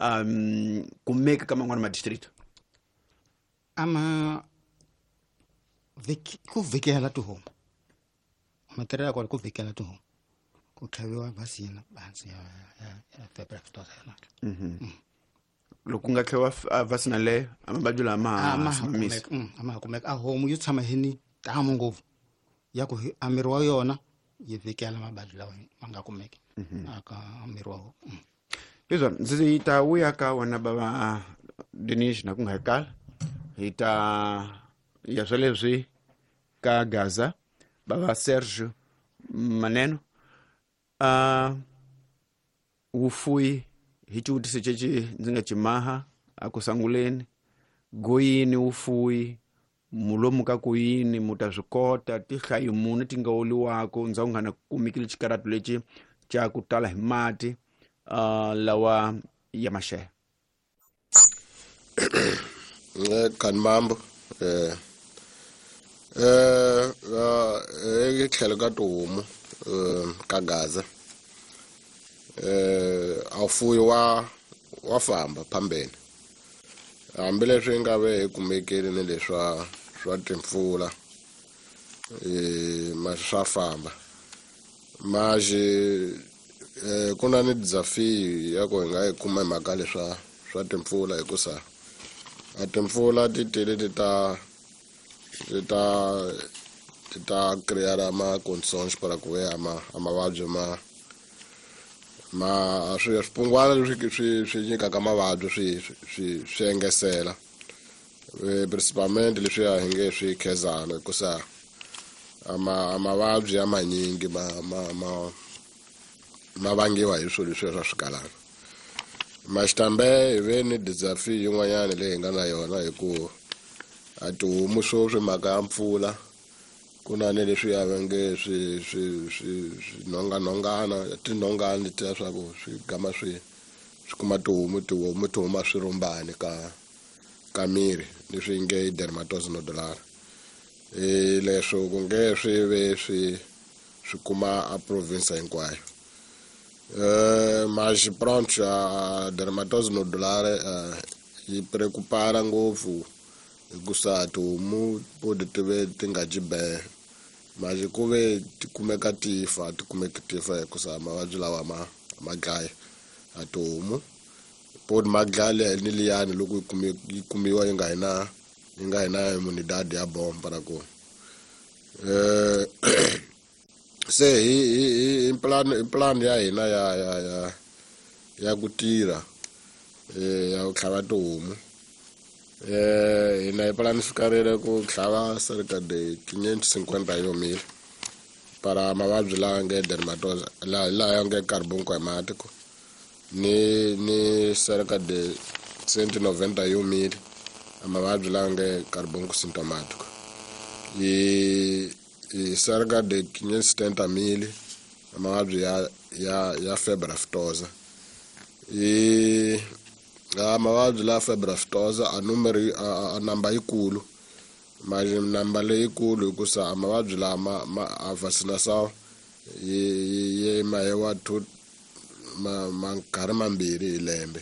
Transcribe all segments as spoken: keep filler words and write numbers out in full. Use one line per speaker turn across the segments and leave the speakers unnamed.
um kumeka ka man'wana ma district?
Ama viki ku vikela tihomu matirhelo ya kona ku vikela tihomu ku tlhaviwa vaccine hansi ya ya ya febre aftosa yona.
Loko ku nga tlhaviwa vaccine leyo a mavabyi lama
a ma ha kumeka a ma ha kumeka a homu yi tshama hi ni tamu ngopfu ya ku a miri wa yona yi vikela mavabyi lawa ma nga kumeki aka miri wa homu.
Leswo ndzi ta vuya ka wena bava Denish na ku nga kala hi ta ya swa leswi ka Gaza bava Sergio Maneno a wufuyi hi xivutiso ceci ndzi nga cimaha a ku sanguleni goyini wufuyi mulomu ka ku yini mu ta swi kota tihlayo muni ti nga oliwako ndzhaku nga na kumekile xikaratu lexi xa ku tala hi mati uh, lawa ya maxele.
Kan mambo eh eh eh tlhelo ka tihomu ka Gaza eh a fuyi wa wa famba phambeni hambileswi nga ve hi kumekile ni leswa swa timpfula eh ma swa famba maji eh ku na ni desafio ya ku hi nga yi kuma hi mhaka leswa swa timpfula hikusa a timpfula ti tele ti ta ti ta ti ta crear ma condições para ku ve ama mavabyi ma ma swi swipungwana leswi swi swi nyikaka mavabyi swi swi swi engesela principalmente leswi ya hi nge swi khezana hikusa ama mavabyi ya manyingi ma ma ma ma vangiwa hi swilo leswi swa swigalana. Maxitambe hi ve ni desafio yin'wanyana leyi hi nga na yona hi ku a tihomu sweswi mhaka ya mpfula ku na ni leswi ya va nge swi swi swi swinhonganhongana tinhongani letiya swa ku swi gama swi swi kuma tihomu tihomu ti huma swirhumbani ka ka miri leswi nge dermatosis nodular e leswo ku nge swi ve swi swi kuma a province hinkwayo. Eh mas pronto a dermatose nodular yi preocupara ngopfu hikusa tihomu podi ti ve ti nga dyi be mas ku ve ti kumeka ti fa ti kumeki ti fa hikusa mavabyi lawa ma ma dlaya a tihomu podi ma dlaya ni liyani loko yi kumi yi kumiwa yi nga hi na yi nga hi na immunidade ya bon para ku eh se hi hi hi plan plan ya hina ya ya ya ya ku tirha eh ya ku tlhava tihomu eh hina hi planifikarile ku tlhava cerca de quinhentos e cinquenta e um mil para mavabyi lawa nge dermatose la la nge carbunco hemático ni ni cerca de cento e noventa e um mil mavabyi lawa nge carbunco sintomático e e cerca de quinhentos e setenta mil mavabyi ya ya ya febre aftosa e a mavabyi la febre aftosa a numero a, a namba yikulu mas namba leyikulu hikusa a mavabyi lama ma a vacinação yi yi mahewa two ma ma nkarhi mambirhi hi lembe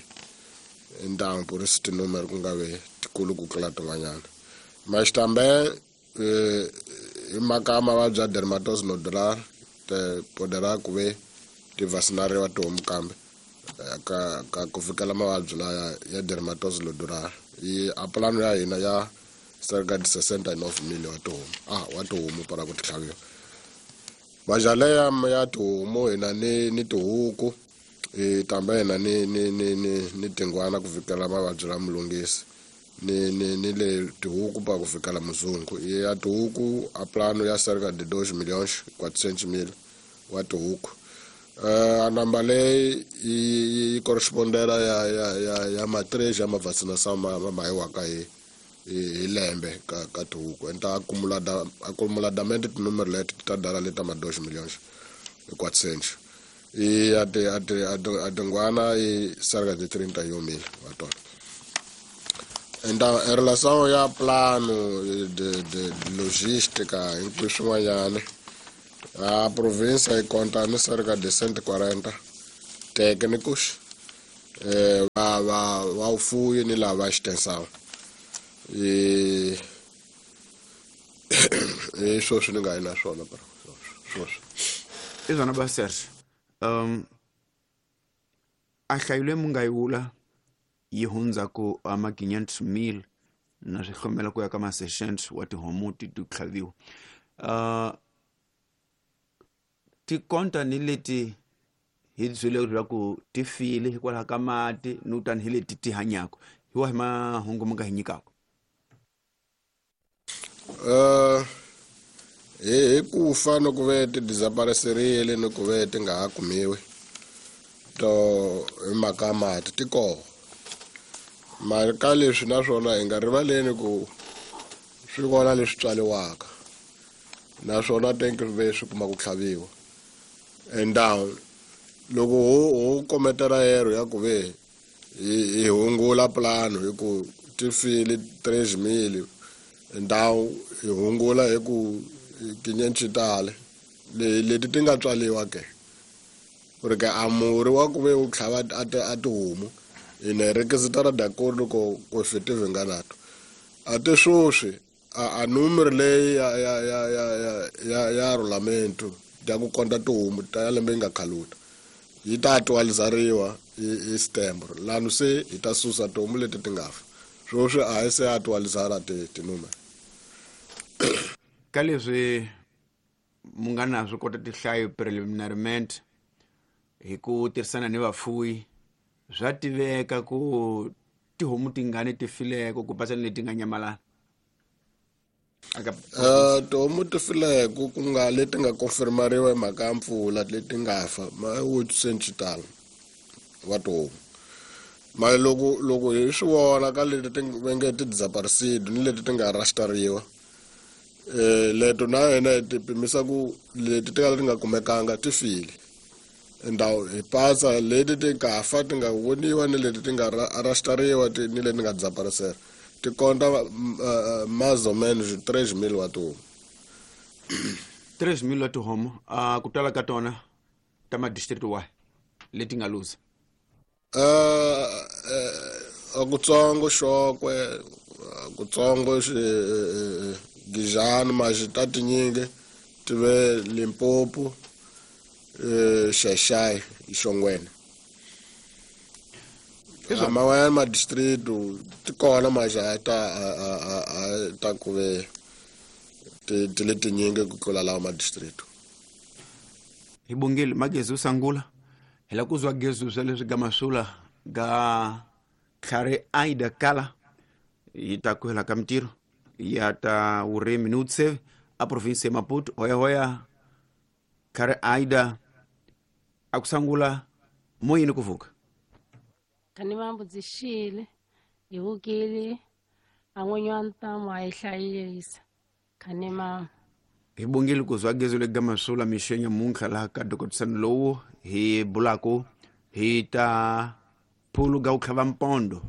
então por isso tinúmero ku nga ve tikulu ku tlula tin'wanyana mas também eh, hi mhaka ya mavabyi ya dermatose nodular te poderá ku ve ti vacinariwa tihomu kambe ka ka ku fikela mavabyi laya ya dermatose nodular yi a plano ya hina ya cerca de sessenta e nove mil wa tihomu ah wa tihomu para ku ti tlhaviwa majale ya ya tihomu hina ni ni tihuku e tambe hina ni ni ni ni ni tingwana ku fikela mavabyi la mulungisi ni ni ni le tihuku pa ku fikela muzungu ya tihuku a plano ya cerca de dois milhões quatrocentos mil wa tihuku eh a namba leyi yi yi correspondela ya ya ya ya ma três ya ma vacinação ma ma mahiwaka hi hi lembe ka ka tihuku então acumulada acumuladamente tinúmero leti ti ta dala leta ma dois milhões e quatrocentos e a ti a ti a tingwana i cerca de trinta e um mil wa tona. Então, em relação ao plano de, de, de logística, inclusive swin'wanyana, a província conta ni cerca de cento e quarenta técnicos eh va va va ufuyi ni lava extension eh eh sweswi ni nga yi na swona bro sweswi
i swona ba Serge um a hlayile mu nga yi vula yi hundza ku amaginyant mil na swi hlomela ku ya ka ma-sessions wa tihomu ti ti tlhaviwa uh tikonta ni leti hi byele leswaku ti file hikwalaho ka mati ni tani hi leti ti hanyaka hi wahi mahungu mi nga hi nyikaka
uh hi hi ku fa no ku ve ti desapareserile ni ku ve ti nga ha kumiwi to hi mhaka ya mati ti koho mara ka leswi naswona hi nga rivaleni ku swi kona leswi tswaliwaka naswona tenke ve swi kuma ku tlhaviwa and down loko ho ho kometela yero ya ku ve hi hi hungula plano hi ku ti file tres mil ndhawu hi hungula hi ku tinyenci tale le leti ti nga tswaliwa ke ku ri ke a murhi wa ku ve wu tlhava a ti a tihomu hi ne requisitara d'acordo ko ko effective nga nato a te sweswi a a numero leyi ya ya ya ya ya ya ya rolamento ya ku konta tihomu ta ya lembe yi nga khaluta yi ta actualizariwa hi hi September lano se hi ta susa tihomu leti ti nga fa sweswi a hi se actualizara ti tinumero
ka leswi mu nga na swi kota tihlayo preliminariment hi ku tirhisana ni vafuwi swa tiveka ku tihomu tingani ti fileko ku pasa ni leti nga nyamalala aka
Uh, tihomu ti fileko ku nga leti nga confirmariwa hi mhaka ya mpfula leti nga fa ma oitocentos tala wa tihomu mara loko loko hi swi vona ka leti ti va nge ti desaparecida ni leti ti nga rastariwa eh leto na yena hi ti pimisa ku leti ti ka ti nga kumekanga ti file ndhawu hi pasa leti ti nga fa ti nga voniwa ni leti ti nga rastariwa ti ni leti nga desaparecera ti konta mais ou menos três mil wa tihomu
três mil wa tihomu uh, ku tala ka tona ta ma-district wahi leti nga luza
uh, uh, kutsongo Xokwe kutsongo Gijani maxi ta tinyingi ti ve Limpopo eh Xaxai Xongweni man'wanyana ma-district ti kona maxi a ta a ta ku ve ti ti le tinyingi ku tlula lawa ma-district
hi bongile magezi usangula hi la ku zwa gezu swa leswi ga masula ga tlhare Aida Kala yi ta ku hela ka mintirho ya ta vurimi ni vutsheve a province ya Maputo hoyahoya tlhare Aida a ku sangula moyini ku vuka
kani mambudzixile hi vukile a n'winyi wa ntamu a yi hlayisa khani mama
hi bongile ku zwa gezu le ga masula mixenya muntlha laha ka dokotisano lowu hi bulaku hi ta phulu ga ku tlhava mpondo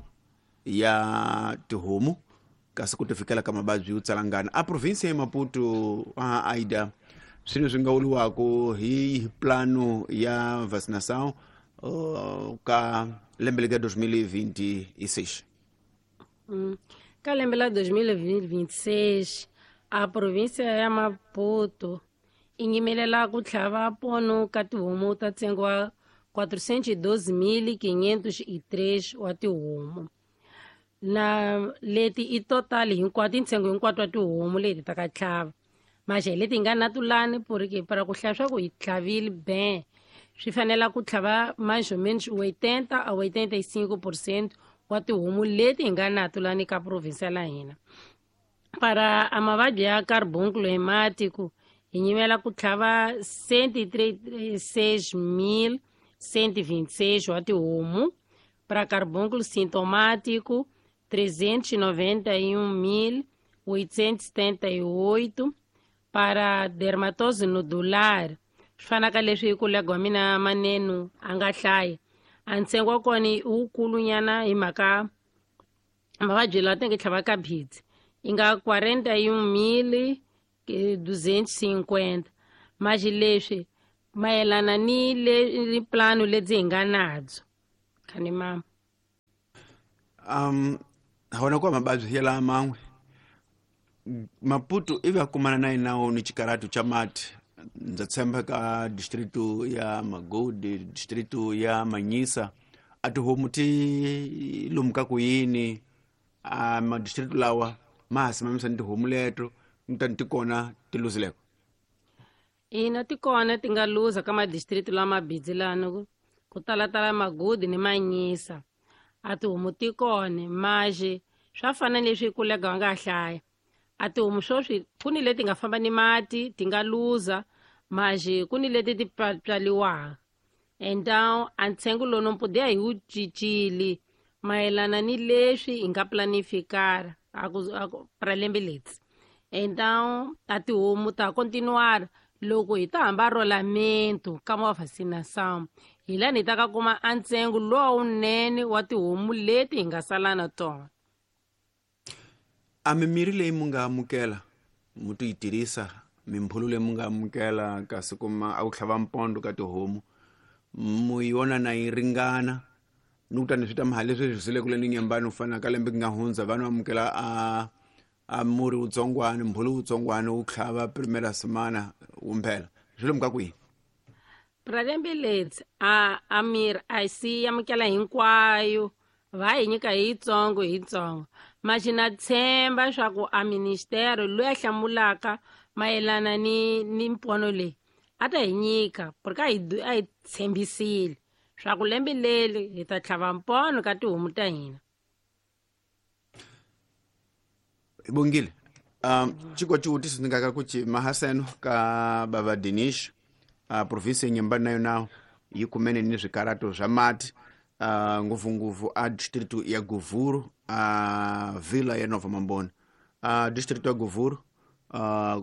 ya tihomu kasi ku ti fikela ka mavabyi yo tsalangana a province ya Maputo a Aida swilo swi nga vuriwaka hi plano ya vaccination uh, ka lembe lega dois mil e vinte e seis
mm. Ka lembe la dois mil e vinte e seis a província ya Maputo yi nyimelela ku tlhava pono ka tihomu ta ntsengo wa quatrocentos e doze mil quinhentos e três wa tihomu na leti i total hinkwato i ntsengo hinkwato wa tihomu leti ta ka tlhava maxe leti nga na tulani porque para ku hlaya swa ku hi tlhavile ben swi fanela ku tlhava mais ou menos oitenta a oitenta e cinco por cento wa tihomu leti hi nga na tulani ka province la hina para a mavabyi ya carbúnculo hemático hi nyimela ku tlhava cento e trinta e seis mil cento e vinte e seis wa tihomu para carbúnculo sintomático trezentos e noventa e um mil oitocentos e setenta e oito para dermatose nodular swi fana ka leswi kolega wa mina Maneno a nga hlaya a ntsengo wa kona i wukulunyana hi mhaka mavabyi lawa tenge tlhava ka bhidzi yi nga quarenta e um mil duzentos e cinquenta maxi leswi mayelana ni le ni plano lebyi hi nga nabyo Khanimama.
Um hona kwa mababyi ya la man'we Maputo ivi a kumana na yinawo ni xikaratu xa mati. Ndza tshemba ka distrito ya Magodi, distrito ya Manyisa, a tihomu ti lomu ka ku yini a madistrito lawa ma ha simamisa ni tihomu leto ni ti kona ti luzileko?
Ina, ti kona ti nga luza ka madistrito lama bidzi lano ku talatala Magodi ni Manyisa. A tihomu ti kona maje swa fana leswi kulega nga hlaya. A tihomu swoswi ku ni leti nga famba ni mati ti nga luza, maje ku ni leti ti pyaliwaka. Então a ntsengo lowu no podia hi wu cincile mayelana ni leswi hi nga planificar a ku a ku pra lembe leri. Então a tihomu ta continuar loko hi ta hamba rolamento ka ma vacinação, hi lani hi ta ka kuma a ntsengo lowunene wa tihomu leti hi nga sala na tona.
A mimirhi leyi mu nga amukela mu ti yi tirhisa, mimpfhulo leyi mu nga amukela kasi kuma a ku tlhava mpondo ka tihomu mu yona na yi ringana ni kutani swi ta maha leswi swi zile kule ni nyambani u fana ka lembe ku nga hundza vanhu amukela a a murhi wutsongwana, mbhulu wutsongwana wu tlhava primera semana wu mphela swi lomu ka kwihi?
Pra lembe leri a a mirhi a si amukela hinkwayo, va hi nyika hi yitsongo hi yitsongo. Mas na tshemba swa ku a ministero loyi a hlamulaka mayelana ni ni mpono leyi a ta hi nyika, porque a hi a hi tshembisile swa ku lembe leri hi ta tlhava mpono ka tihomu ta hina.
Bongile, um chiko xivutiso ndzi nga ka ku ci mahaseno ka bava Dinish, uh, province ya Nyembani na yona yi kumene ni swikarato swa mati, uh, ngopfungopfu a distrito ya Govuro, a uh, vila ya Nova Mambona. Uh, distrito ya Govuro uh,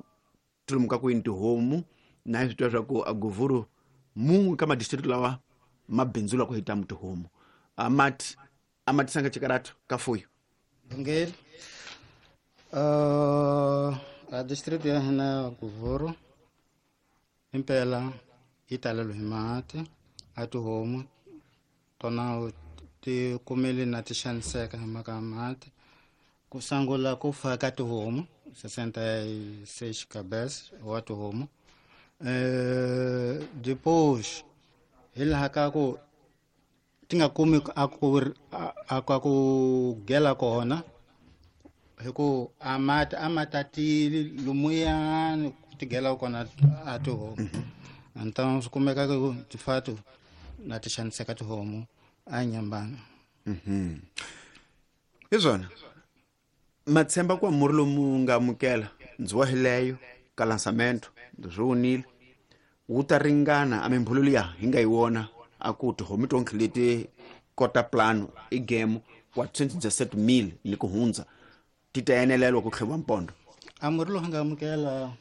tilomu ka ku yini tihomu na hi swi tiva swa ku a Govuro mun'we ka madistrito lawa ma bindzula ku hita tihomu. A mati a ma tisanga xikarato ka fuyo?
Bongile, uh, a distrito ya hina ya Govuro impela yi talelwe hi mati. A tihomu tona ti kumele na ti xaniseka hi mhaka ya mati. Ku sungula ku fa ka tihomu sessenta e seis cabeças wa tihomu. Eh, depois hi laha ka ku ti nga kumi a ku a ka ku gela kona hi ku a mati a ma tatile lumuyani ku ti gela kona a tihomu. Então swi kumeka ku ti fa na ti xaniseka tihomu a Nyambani.
Mhm. Hi swona matshemba kwa murhi lomu nga amukela ndzi wa hileyo ka lançamento ndzi swi vonile wu ta ringana a mimpfhulo liya hi nga yi vona a ku tihomu tonkhe leti kota plano i game quatrocentos e dezessete mil ni ku hundza ti ta enelelwa ku tlheviwa mpondo?
A murhi lowu nga amukela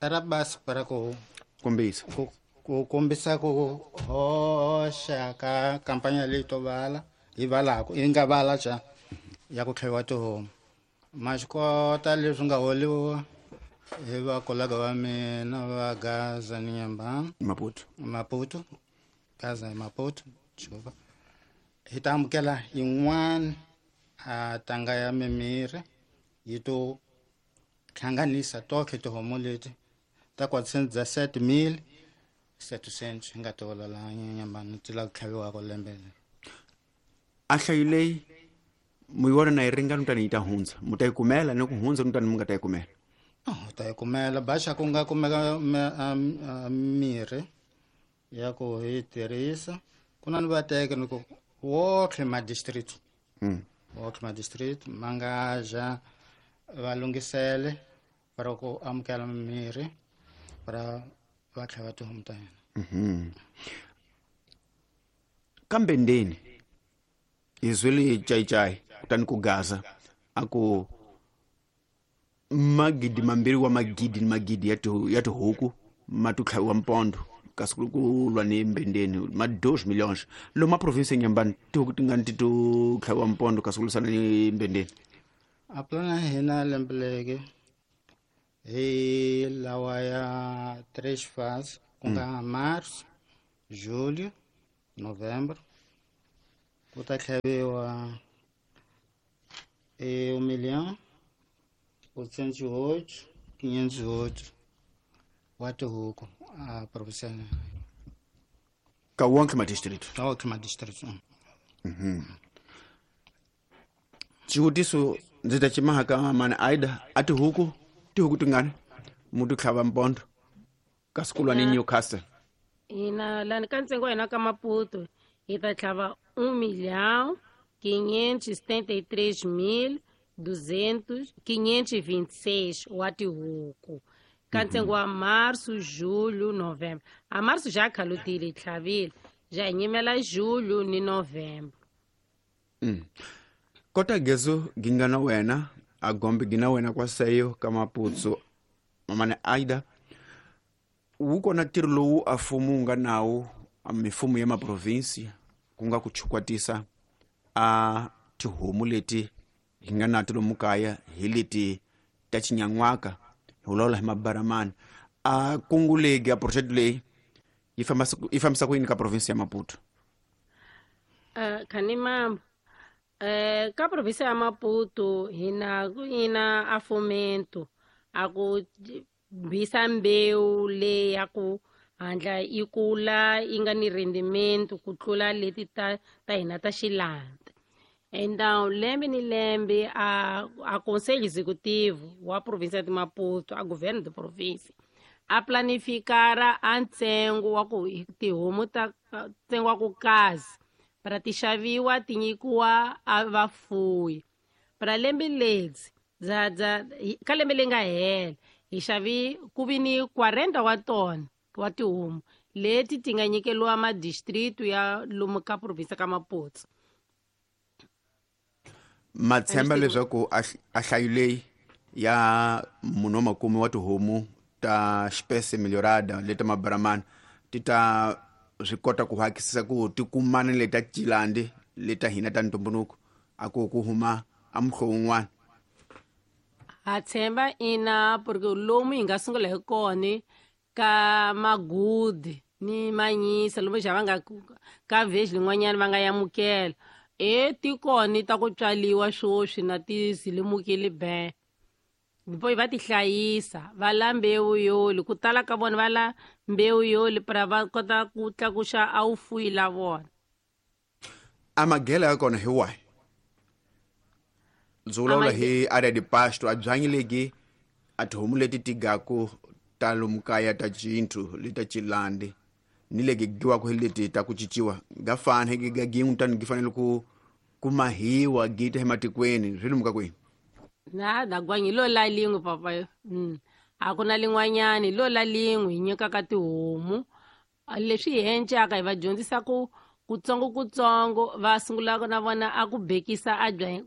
ra basi para ku
kombisa
ku ku kombisa ku hoxa ka kampanya leyi to vala hi valaku yi nga vala xa ya ku tlheviwa tihomu. Ma swi kota leswi nga holiwa hi vakolega va mina va Gaza ni Nyambani,
Maputo,
Maputo, Gaza hi Maputo, desculpa. Hi ta amukela yin'wana a tanga ya mimirhi yi to hlanganisa tonkhe tihomu leti ta quatrocentos e dezessete mil setecentos hi nga ti hola laha Nyambani ti lava ku tlhaviwaka lembe leri.
A nhlayo leyi mu yi vona na yi ringana kutani yi ta hundza, mu ta yi kumela ni ku hundza kutani mu nga ta yi kumela?
Oh, ta yi kumela baxa ku nga kumeka mirhi ya ku hi tirhisa. Ku na ni vateke ni ku wotlhe ma district, wotlhe ma district ma nga ja va lunghisele para ku amukela mirhi para va tlhava tihomu ta hina.
Kambe ndeni hi zwile cayicayi kutani ku Gaza a ku magidi mambirhi wa magidi ni magidi ya ya tihuku ma to tlhaviwa mpondo kasi ku ku lwa ni mbendeni ma dois milhões lomu a province ya Nyambani tihuku tingani ti to tlhaviwa mpondo kasi ku lwisana ni mbendeni?
A plana ya hina lembe leri hi lawa ya três fases, ku nga março, julho, novembro. Ku ta tlhaviwa e um milhão oitocentos e oito quinhentos e oito wa tihuku a província
ka wonke madistrict.
Ka wonke madistrict.
Mhm. Xivutiso ndzi ta ximaha ka mani Aida a tihuku tihuku tingani mu ti tlhava mpondo ka sikulwani Newcastle?
Hina lani ka ntsengo wa hina ka Maputo hi ta tlhava um milhão quinhentos e setenta e três mil duzentos quinhentos e vinte e seis wa tihuku ka ntsengo wa março, julho, novembro. A março já khalutile hi tlhavile, ja hi nyimela julho ni novembro.
Mm. Kota gezo ginga na wena a gombe gina wena kwa seyo ka Maputo mamane Aida wu kona ntirho lowu a mfumo wu nga nawu a mifumo ya maprovinsi ku nga ku chukwatisa a tihomu leti hi nga na ti lomu kaya hi leti ta xinyan'waka hi vulavula hi mabaramani a kungu legi a project leyi yi fambisa yi fambisa ku yini ka provinsi ya Maputo?
Uh, Khanimambo eh ka província ya Maputo hina ku ina a fomento a ku bisa mbewu leyi ya ku handla yi kula yi nga ni rendimento ku tlula leti ta ta hina ta xilanda. Então lembe ni lembe a a conselho executivo wa província de Maputo, a governo de província a planificara a ntsengo wa ku tihomu ta ntsengo wa ku kazi para ti xaviwa ti nyikiwa a vafuwi. Para lembe ledzi bya bya ka lembe leri nga hela hi xavi ku vi ni quarenta wa tona wa tihomu leti ti nga nyikeliwa madistritu ya lomu ka province ka Maputo.
Ma tshemba leswaku a hlayo leyi ya munhu wa makume wa tihomu ta espécie melhorada leta mabaramani ti ta swi kota ku hakisisa ku ti kumana leta cilandi leta hina ta ntumbuluko a ku ku huma a muhlovo wun'wana?
Ha tshemba ina, porque lomu hi nga sungula hi kona ka magudi ni manyisa lomu xa va nga ka vhezi lin'wanyana va nga yamukela e ti kona ta ku tswaliwa swoswi na ti zilimukile be depois va ti hlayisa va la mbewu yoli ku tala ka vona va la mbewu yoli para va kota ku tlakuxa a wu fuyi la vona.
A magela ya kona hi wahi? Ndzi vulavula hi area de pasto a byanyi legi a tihomu leti ti gaku ta lomu kaya ta cinthu leta cilandi ni legi giwaku hi leti ta ku cinciwa ga fana hi ga gin'we tani gi fanele ku ku mahiwa gi ta ematikweni swi lomu ka kwihi?
Na da gwanyi lo la lin'we papa. Mm. A ku na lin'wanyani lo la lin'we hi nyikaka tihomu leswi hi encaka hi va dyondzisa ku kutsongo kutsongo va sungula na vona a ku bekisa a byanyi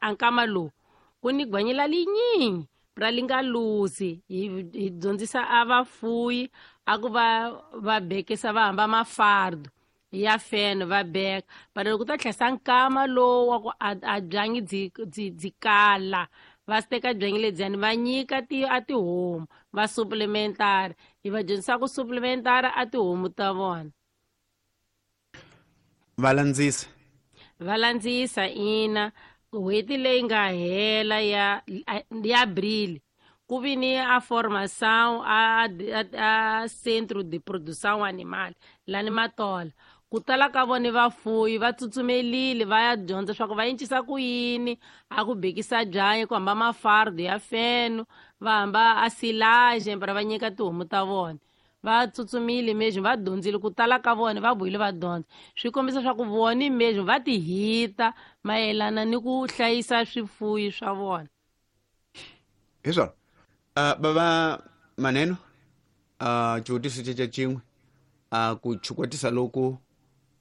a nkama lowu ku ni gwanyi la linyingi ra li nga luzi hi hi dyondzisa a vafuyi a ku va va bekisa va hamba mafardo ya feno va beka but loko ku ta tlhesa nkama lowu wa ku a byanyi byi byi byi kala va teka byanyi lebyiyani va nyika ti a tihomu va supplementary hi va dyondzisa ku supplementary a tihomu ta vona.
Va landzisa
va landzisa ina n'hweti leyi nga hela ya ya Abril ku vi ni a formação a, a, a centro de produção animal lani Matola ku tala ka vona vafuyi va tsutsumelile va ya dyondza swa ku va encisa ku yini a ku bekisa byanyi ku hamba mafardo ya feno va hamba a silage para va nyika tihomu ta vona va tsutsumile mesmo va dyondzile ku tala ka vona va vuyile va dyondza swi kombisa swa ku vona mesmo va ti hita mayelana ni ku hlayisa swifuyi swa vona.
Hi swona. Uh, bava maneno uh, xivutiso xexo xin'we uh, ku chukwatisa loku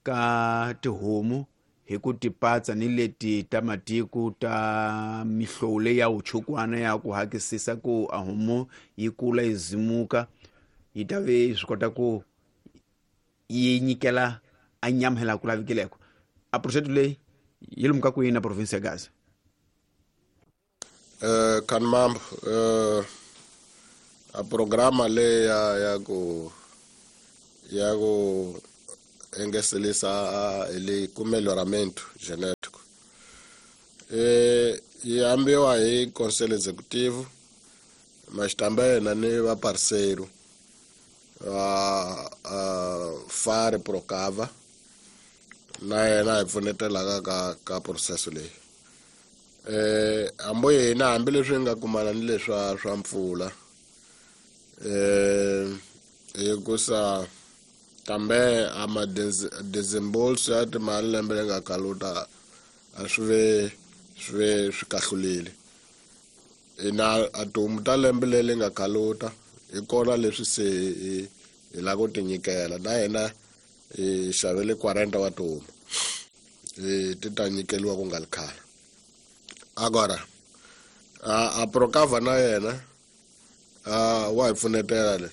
ka tihomu hi ku tipatsa ni leti ta matiko ta mihlovo leyi ya wuchukwana ya ku hakisisa ku a homu yi kula yi zimuka yi ta ve swi kota ku yi nyikela a nyama hi laha ku lavekileko a project leyi yi lomu ka kwini na province ya Gaza?
Eh Khanimambo eh a programa leyi ya ya ku ya ku engeselisa ele ku melhoramento genético. E yi ambiwa hi Conselho Executivo, mas também na ni va parceiro a a Fare Procava na yena hi pfunetelaka ka ka processo leyi. Eh ambo yena hambileswi nga kumana ni leswa swa mpfula eh hikusa kambe a ma desembolso ya timali lembe leri nga kaluta a swi ve swi ve swi kahlulile. Ina a tihomu ta lembe leri nga kaluta hi kona leswi se hi hi lava ku ti nyikela na hina hi xavele quarenta wa tihomu hi ti ta nyikeliwa ku nga ri khale. Agora a a Procava na yena a wa hi pfunetela le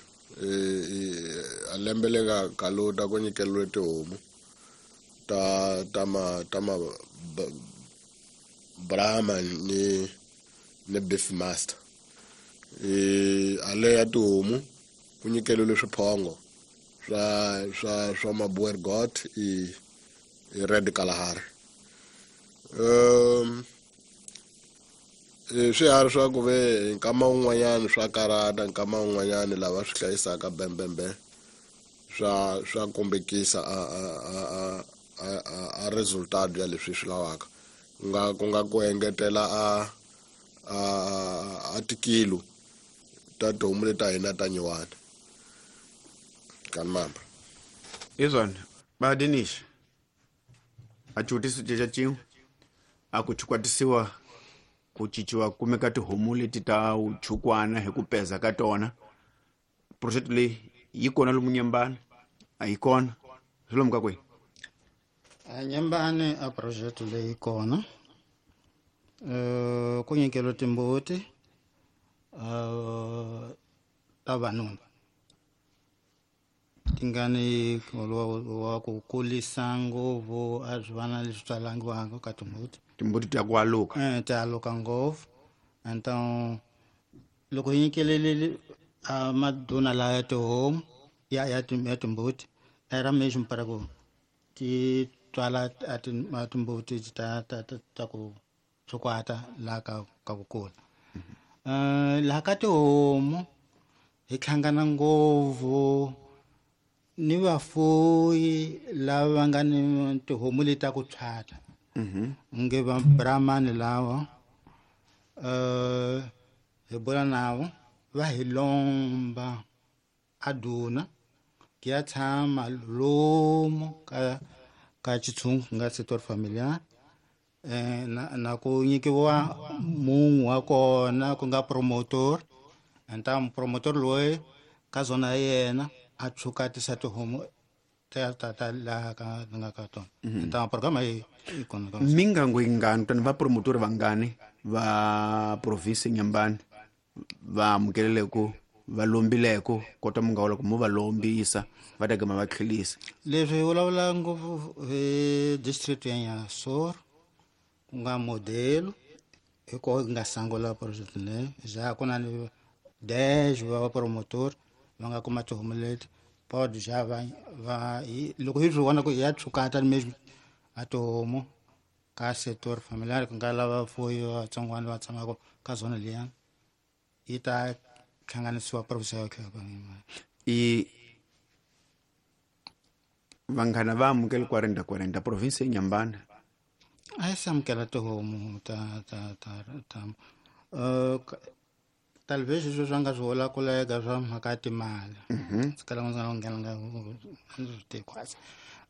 a lembe leri nga kaluta ku nyikeliwe tihomu ta ta ma ta ma Brahma ni ni Beef Master. E ale ya tihomu ku nyikeliwe swiphongo swa swa swa ma-Boer goat i i Red Kalahari. Um swiharhi swa ku ve nkama wun'wanyani swa karata, nkama wun'wanyani lava swi hlayisaka bembembe swa swa kombekisa a a a a a resultado ya leswi swi lavaka. Ku nga ku nga ku engetela a a a tikilo ta tihomu leta hina ta nyuwana kanmamba.
Izwana ba Denish a xivutiso ceca cin'we a ku chukwatisiwa ku cinciwa kumeka tihomu leti ta chukwana hi ku peza ka tona. Project leyi yi kona lomu Nyembani a yi kona swi lomu ka kwihi?
A Nyembani a project leyi kona eh ku nyikeliwa timbuti eh ta vanuna tingani wa ku kulisa ngopfu a swi vana leswi tswalangiwaka ka timbuti.
Timbuti ta ku aluka
eh ta aluka ngopfu. Então loko hi nyikelele a maduna laya tihomu ya ya ya timbuti era mesmo para ku ti tswala a timbuti ta ta ta ku tshukwata laha ka ka ku kula. Eh laha ka tihomu hi hlangana ngopfu ni vafuyi lava va nga ni tihomu leti ta ku tshwata nge va Brahmani lava eh hi bula navo va hi lomba a duna ki ya tshama lomu ka ka xitshungu ku nga sector familiar eh na na ku nyikiwa munhu wa kona ku nga promotor. Então promotor loyi ka zona ya yena a tshukatisa tihomu ta ta ta laha ka nga ka tona. Então programa yi yi kona ka
mingango yingani tani va promotor vangani va province Nyembani va amukeleleko va lombileko kota mi nga vula ku mo va lombisa va ta gama va tlhelisa?
Leswi hi vulavula ngopfu hi district ya Nyasoro ku nga modelo hi koho ku nga sungula project leyi ja ku na ni dez va promotor va nga kuma tihomu leti pod ja va va loko hi swi vona ku ya tshukata mesmo a tihomu ka sector familiar ku nga lava vafuyi vatsongwana va tshamaka ka zona liya yi ta hlanganisiwa province ya
i vanghana va amukele quarenta quarenta province ya Nyembani
a yi se amukela tihomu ta ta ta ta uh, talvez sweswi swa nga swi hola kulega swa mhaka ya timali ndzi kala ndzi nga nghena nga ndzi swi tivi quase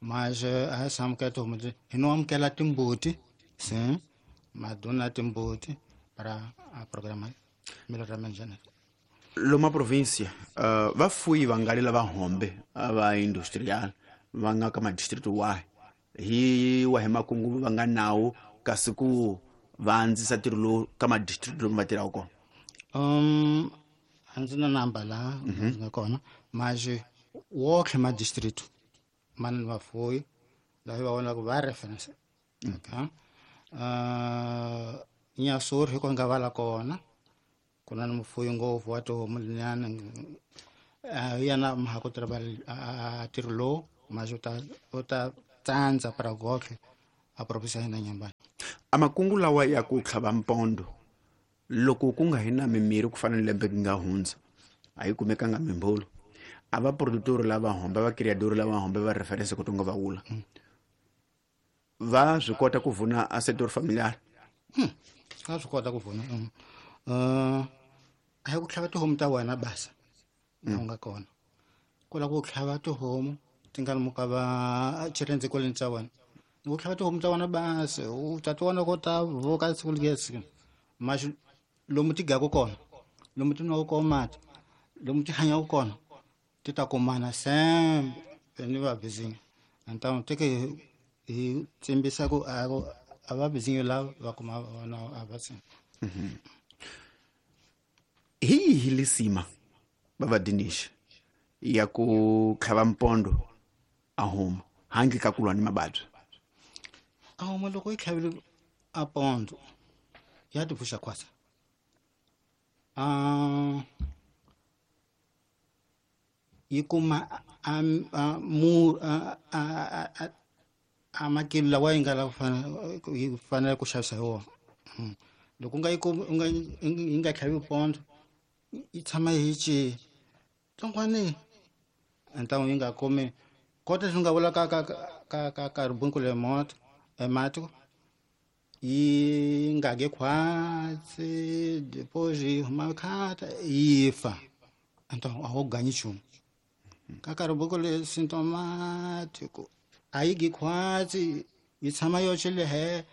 mas a yi se amukela tihomu hi no amukela timbuti sim maduna timbuti para a programa melhoramento genético.
Loma província uh, vafuyi vangali lava hombe va industrial va nga ka madistrict wahi hi wahi makungu va nga nawo kasi ku va andzisa ntirho lowu ka madistrict lomu va tirhaka kona?
Um a ndzi na namba laha ndzi nga kona mas wonkhe madistrict ma ni vafuyi lava va vonaka va reference. Okay uh Nyasoro hi ko nga vala kona ku na ni mufuyi ngopfu wa tihomu liyani hi yena mhaka ku tirha ntirho lowu Mas u ta u ta tsandza para gotlhe a provinsi ya hina Nyambani.
A makungu lawa ya ku tlhava mpondo loko ku nga hi na mimirhi ku fana ni lembe ku nga hundza a yi kumekanga mimbolo a va produtor lava homba va creator lava homba va reference ku tonga va wula va swi kota ku vuna a sector familiar.
Hmm. Va swi kota ku vuna. Uh, a hi ku tlhava tihomu ta wena basa mm. u nga kona ku lava ku tlhava tihomu ti nga muka va chirendze kwaleni tsa wena ku tlhava tihomu ta wena basa u ta ti vona ko ta voka siku lesi mas lomu ti gaku kona lomu ti nwaka kona mati lomu ti hanyaka kona ti ta kumana sembe ni va bizinyo então teke hi tsimbisa ku a a va bizinyo lava va kuma vona a va se.
Hi yihi lisima bava Dinesh ya ku tlhava mpondo a homu handle ka ku lwa ni mavabyi?
A homu loko yi tlhavile a pondo ya ti pfuxa khwasa a yi kuma a mu a a a makilo lawa yi nga lava yi fanele ku xavisa hi wona. Loko u nga yi u nga yi nga tlhavi pondo yi tshama yi ci tsongwani então yi nga kumi kota swi nga vula ka ka ka ka ka ribunku le moto emati yi nga ge khwatsi depois yi huma khata yi fa então a wu ganyi nchumu ka ka ribunku le symptomático a yi gi khwatsi yi tshama yoxe le he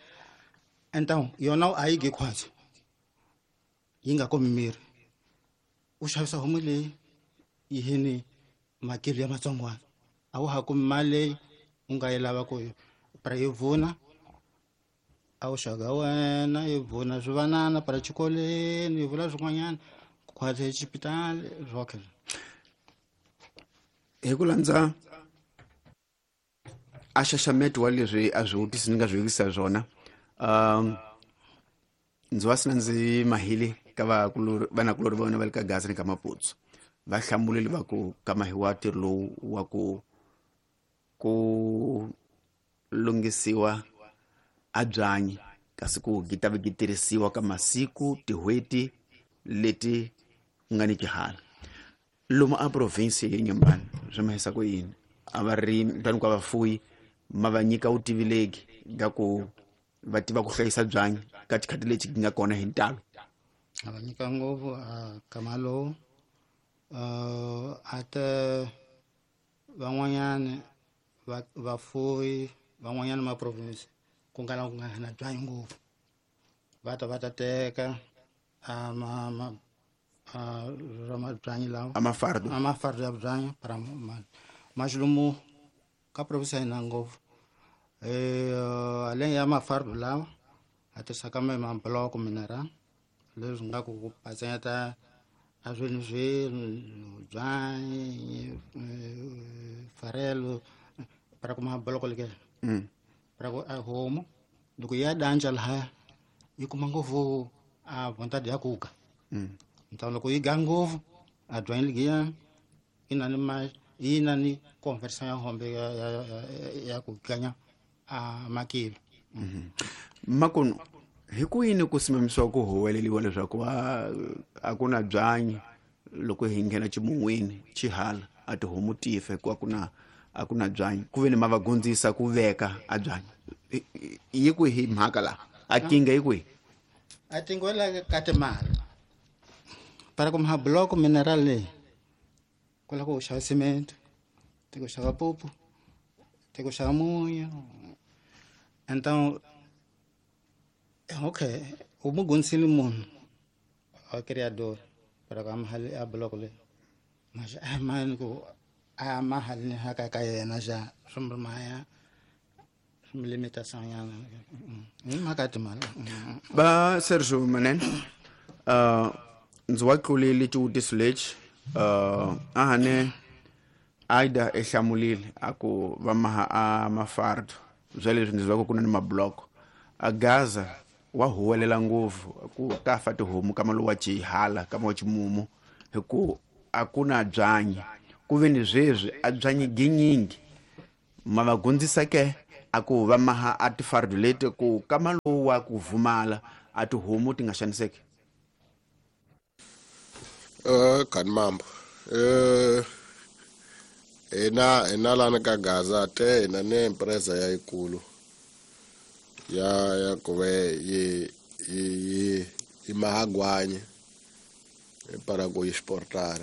então yona a yi gi khwatsi yi nga kumi miri u xavisa homu leyi yi hini makilo ya matsongwana a wu ha kumi mali leyi u nga yi lava ku para yi vuna a wu xaga wena yi vuna swivanana para xikolweni yi vula swin'wanyana khwatsi exipitali swokhe.
Hi ku landza a xaxameto wa leswi a swi vutisi ni nga swi vutisa swona um ndzi wa sina ndzi mahile ka vakulori vanakulori va vona va le ka Gaza ni ka Maputsu va hlamulile va ku ka mahiwa ntirho lowu wa ku ku lunghisiwa a byanyi kasi ku gi ta va gi tirhisiwa ka masiku tin'hweti leti ku nga ni xihala lomu a province ya Nyambani swi mahisa ku yini a varimi tani ka vafuyi ma va nyika vutivi ga ku va tiva ku hlayisa byanyi ka xikhati lexi gi nga kona hi ntalo?
A va nyika ngopfu a kama lowu a te van'wanyani va vafuyi van'wanyana ma province ku nga na ku nga na byanyi ngopfu va ta va ta teka a ma ma a ra byanyi lawa
a mafardo
a mafardo ya byanyi para mas lomu ka province ya hina ngopfu eh além ya mafardo lawa a tirhisaka ma mabloko mineral leswi nga ku ku patsanyeta a swilo swilo byanyi farelo para ku mabloko leke
mm.
para ku a homu loko ya danja lahaya yi kuma ngopfu a vontade ya kuka
mm.
então loko yi ga ngopfu a byanyi ligiya yi na ni ma yi na ni conversion ya hombe ya ya ya ku ganya a makilo.
Mm-hmm. Makunu hi ku yini ku simamisiwa ku huweleliwa leswaku a a ku na byanyi loko hi nghena ximun'wini xihala a tihomu ti fa hikuva ku na a ku na byanyi ku ve ni ma va gondzisa ku veka a byanyi yi kwihi mhaka laha a kinga yi kwihi?
A tingwela ka timali para ku maha block mineral leyi ku lava ku xava cement ti ku xava pupu ti ku xava munyu então okay u mu gondzisile munhu a criador para ka mahali a block leyi mas a mani ku a mahali ni haka ka yena xa swi maya swi limitação nyana hi mhaka ya timali.
Va Sergio Manene uh ndzi wa tlulile xivutiso lexi uh a hane Aida e hlamulile a ku va maha a mafardo bya leswi ndzi va ku na ni mabloko a Gaza wa huwelela ngopfu ku ta fa tihomu ka malo wa xihala ka wa ximumu hi ku a ku na byanyi ku ve ni sweswi a byanyi ginyingi Ma va gundzisa ke a ku va maha a tifardu leti ku kama lowu wa ku vumala a tihomu ti nga xaniseki.
Eh kanmambo eh ena ena lana ka Gaza te ena ne empresa ya ikulu ya ya kuve yi yi yi mahagwanye para go exportar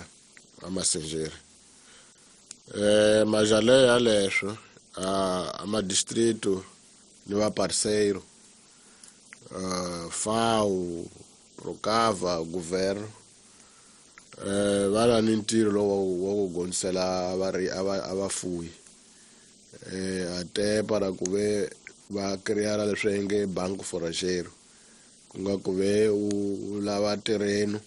a massengeira eh majale ya leswo a a distrito ni va parceiro uh, FAO Procava governo eh va na ntirho lowu wa ku gonisela vari ava abafuyi eh ate para ku ve va crear leswi nge banco foragero ku nga ku ve u lava terreno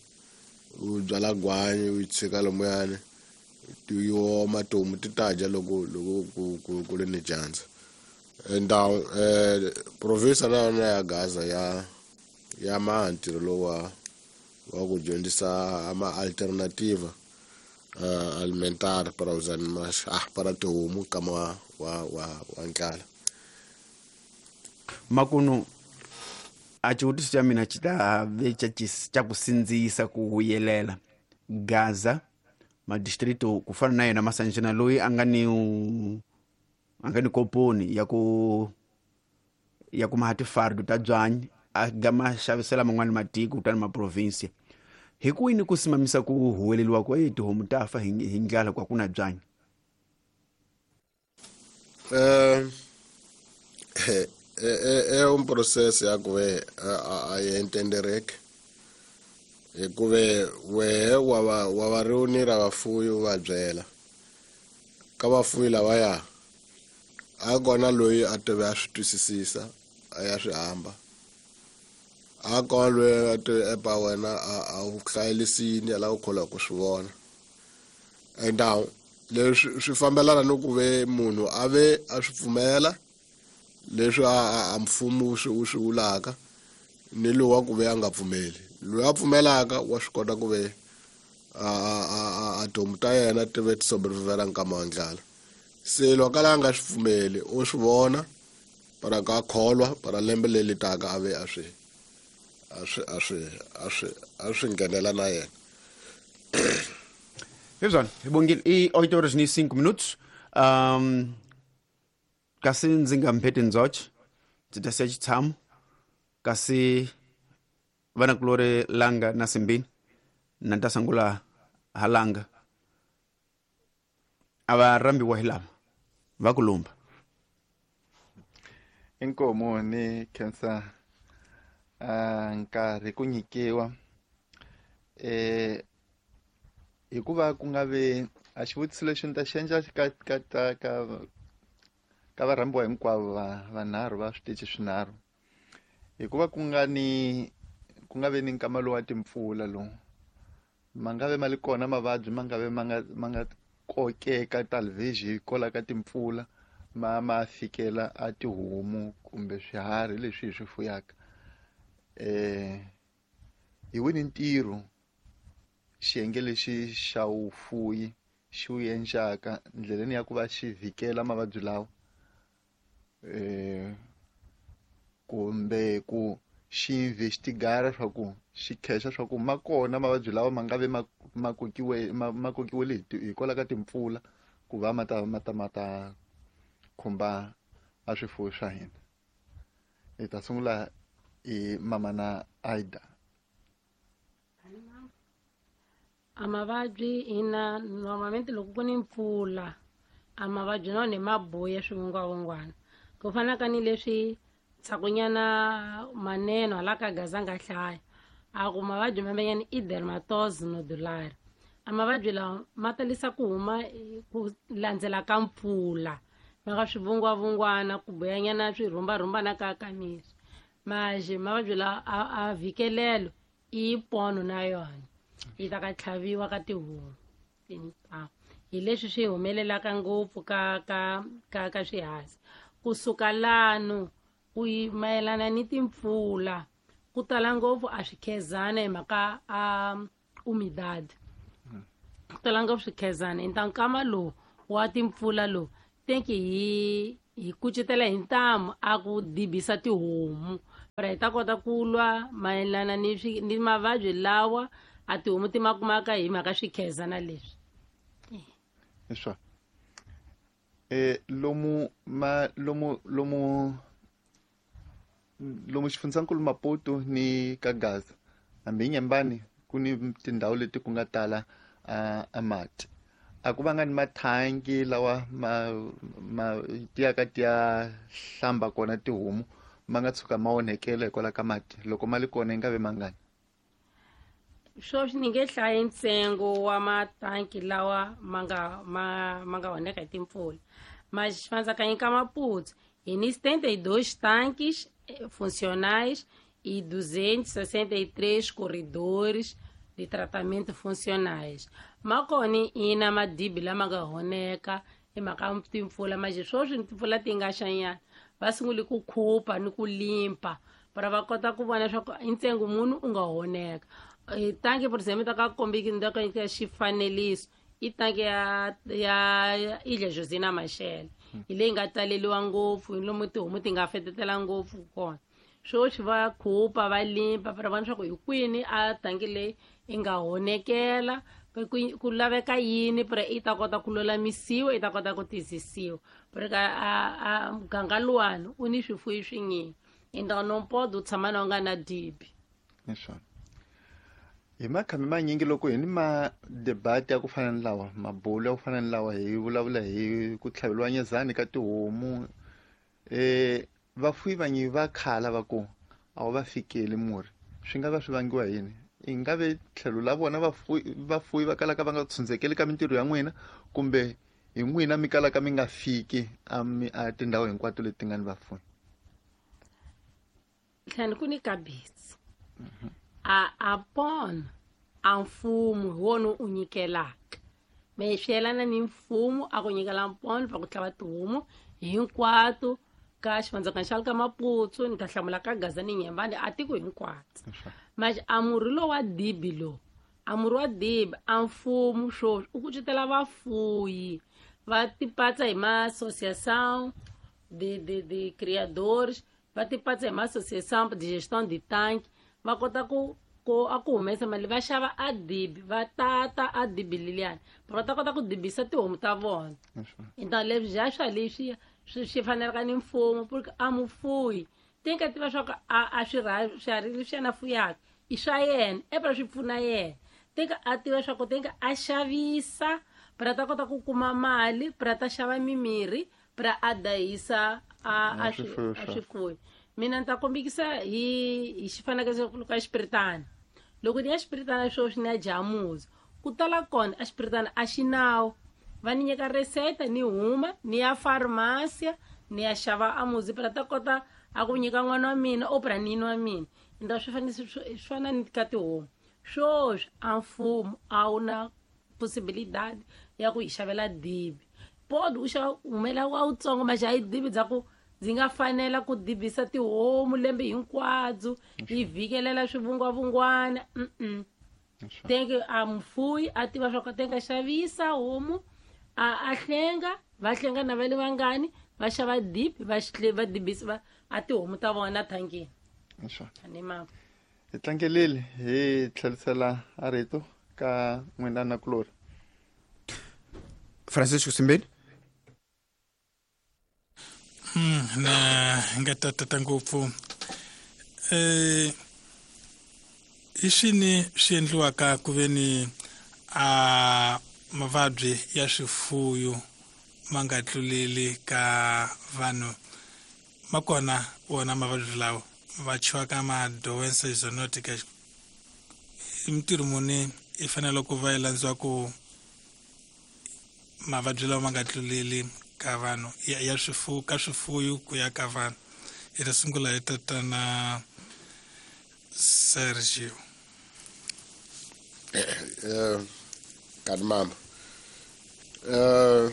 u byala gwanyi u tshika lomuyani ti oma tihomu ti ta dya loko loko ku ku ku le ni dyandza. Ndhawu eh province na yona ya Gaza ya ya ma ntirho lowu wa wa ku dyondzisa ama alternativa uh, alimentar para os animais ah para tihomu kama wa wa wa, wa ndlala.
Makunu a xivutiso xa mina xi ta ve xa xa ku sindzisa ku vuyelela Gaza madistrito ku fana na yena Masanjana loyi a nga ni a nga ni koponi ya ku ya ku maha tifardu ta byanyi a gama xavisela man'wani matiko kutani maprovinsia hi kwini ku simamisa ku huweleliwa ku e tihomu ta fa hi hi ndlala kwa kuna byanyi.
Eh é um processo ya ku ve a entendereke hikuve wehe wa va wa va reunir vafuyi u va byela ka vafuyi lavaya a kona loyi a tive a swi twisisisa a ya swi hamba a kona loyi a tive epa wena a a wu hlayelisini a lava ku kholwa ku swi vona. Então leswi swi fambelana ni ku ve munhu a ve a swi pfumela leswi a a mfumo wu swi wu swi vulaka ni lowu wa ku ve a nga pfumeli. Loyi a pfumelaka wa swi kota ku ve a a a tihomu ta yena ti ve ti sobrevivela nkama wa ndlala. Se loko a nga swi pfumeli u swi vona para ka kholwa para lembe leri taka a ve a swi a swi a swi a swi a swi nghenela na yena.
Hezwan, hi i oito horas e cinco minutos. Um, kasi ndzi nga mpheti ndzoche ndzi ta siya xitshamo kasi vanakulori Langa na Simbini na ta sungula ha Langa a va rhambiwa hi lava va ku lumba.
Inkomo ni khensa a nkarhi ku nyikiwa eh hikuva ku nga ve a xivutiso lexi ni ta xi endla ka ka ka ka ka varhambiwa hinkwavo va vanharhu va switichi swinharhu hikuva ku nga ni ku nga ve ni nkama lowu wa timpfula lowu ma nga ve ma li kona mavabyi ma nga ve ma nga ma nga kokeka talvez hikwalaho ka timpfula ma ma fikela a tihomu kumbe swiharhi leswi hi swi fuyaka eh hi wini ntirho xiyenge lexi xa vufuyi xi wu endlaka ndleleni ya ku va xi vhikela mavabyi lawa eh kumbe ku xi investigara swa ku xi khexa swa ku ma kona mavabyi lawa ma nga ve ma ma kokiwe ma kokiwile hikwalaho ka timpfula ku va ma ta ma ta ma ta khumba a swifuwo swa hina. Hi ta sungula hi mama na Aida.
A mavabyi ina normalmente loko ku ni mpfula a mavabyi na wona ma boya swivungwavungwana ku fana ka ni leswi tshakunyana maneno hala ka Gaza nga hlaya a ku mavabyi mamenyani i dermatose nodular. A mavabyi lawa ma talisa ku huma ku landzela ka mpfula ma nga swivungwavungwana ku boyanyana swirhumbarhumbana ka ka miri maje mavabyi lawa a a vhikelelo i pono na yona yi ta ka tlhaviwa ka tihomu hi leswi swi humelelaka ngopfu ka ka ka ka swihazi kusuka lano ku mayelana ni timpfula ku tala ngopfu a swikhezana hi mhaka a umidad ku tala ngopfu swikhezana hi nkama lowu wa timpfula lowu Tem que hi hi kucetela hi ntamu a ku dibisa tihomu para hi ta kota ku lwa mayelana ni ni mavabyi lawa a tihomu ti ma kumaka hi mhaka swikhezana leswi.
Leswa eh lomu ma lomu lomu lomu xifundzankulu Maputo ni ka Gaza hambi Nyembani ku ni tindhawu leti ku nga tala a mati a ku vanga ni mathangi lawa ma ma tiyaka tiya hlamba kona tihomu ma nga tshuka ma onhekela hikwalaho ka mati loko ma li kona yi nga ve mangani.
Sweswi ni nge hlayi ntsengo wa matanki lawa ma nga ma ma nga onheka hi timpfula mas xifandzakanyi ka Maputo hi ni setenta e dois tanques funcionais e duzentos e sessenta e três corredores de tratamento funcionais. Makoni ina madibi lama nga honeka hi mhaka timpfula mas sweswi timpfula ti nga xanyana va sungule ku khupa ni ku limpa para va kota ku vona leswaku i ntsengo munhu u nga honeka. Tanki por exemplo ta ka kombiki ni ta ka xifaneliso i tanki ya ya Ilha Josina Machel hi leyi nga taleliwa ngopfu hi lomu tihomu ti nga fetetela ngopfu kona. Sweswi va khupa va limpa para vona leswaku hi kwini a tanki leyi yi nga honekela ku laveka yini para i ta kota ku lulamisiwa i ta kota ku tiyisisiwa para a a muganga luwani u ni swifuyi swinyingi então não pode u tshama na u nga na dibi.
Leswona hi makhami manyingi loko hi ni ma debate ya ku fana ni lawa mabulo ya ku fana ni lawa hi vulavula hi ku tlhaveliwa nyezani ka tihomu eh vafuyi vanyi va khala va ku a wu va fikeli murhi swi nga va swi vangiwa hi yini i nga ve tlhelo la vona vafuyi vafuyi va kalaka va nga tshundzekeli ka mintirho ya n'wina kumbe hi n'wina mi kalaka mi nga fiki a mi a tindhawu hinkwato leti nga ni vafuyi.
Tlhani ku ni kabisi a a pona a mfumo hi wona u nyikelaka me swi yelana ni mfumo a ku nyikela mpona va ku tlhava tihomu hinkwato ka xivandzakana xa le ka Maputo ni ta hlamula ka Gaza ni Nyembani a tiko hinkwato mas a murhi lowu wa dibi lowu a murhi wa dibi a mfumo sweswi u kucetela vafuyi va tipatsa hi ma-associação de de de criadores va tipatsa hi ma-associação de gestão de tanque va kota ku ku a ku humesa mali va xava a dibi va tata a dibi leliyani va ta kota ku dibisa tihomu ta vona. Então leswi ja swa leswi swi swi fanelaka ni mfumo porque a mufuyi tem que tiva swa ku a a swiharhi leswi yena fuyaka i swa yena e para swi pfuna yena tem que a tiva swa ku tem que a xavisa para ta kota ku kuma mali para ta xava mimirhi para a dayisa a a swifuyo. Mina ni ta kombekisa hi hi xifanekiso ka xipiritana loko ni ya xipiritana sweswi ni ya jamuza ku tala kona a xipiritana a xi nawu va ni nyika reseta ni huma ni ya farmasia ni ya xava amuzi para ta kota a ku nyika n'wana wa mina o para nini wa mina então swi fanele swi fana ni ka tihomu sweswi a mfumo a wu na possibilidade ya ku hi xavela dibi pode u xava humela wa wutsongo mas a yi dibi bya ku ndzi nga fanela ku dibisa tihomu lembe hinkwabyo yi vhikelela swivungwavungwana mm tenge a mufuyi a tiva swa ku tenga xavisa homu a a hlenga va hlenga na va le vangani va xava dibi va va dibisa va a tihomu ta vona thangini. Ani ma
hi tlangelile hi tlherisela a rito ka n'wina na kulori
Francisco Simbeni.
Mm, na nga tata ngopfu eh i swini swi endliwaka ku ve ni a mavabyi ya swifuyo ma nga tluleli ka vanhu makona wona mavabyi lawa va chiwaka ma doença zoonotica i mintirho muni i fanele ku va yi landziwa ku mavabyi lawa ma nga tluleli ka vanhu ya, ya swifuwo ka swifuyo ku ya ka vanhu. Hi ta sungula hi tatana Sergio.
Eh kani mama eh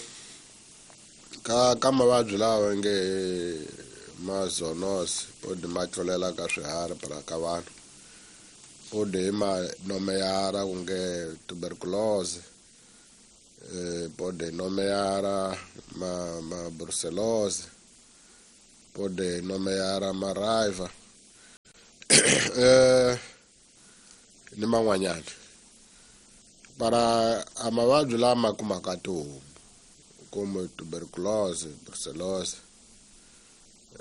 ka ka mavabyi lawa nge ma zoonosis podi ma tlulela ka swiharhi para ka vanhu podi ma nomeyara ku nge tuberculose Eh, pode nomear ma, ma brucelose, pode nomear ma raiva. Eh, ni man'wanyana. Para a mavabyi lama kumaka tihomu kumbe tuberculose, brucellose,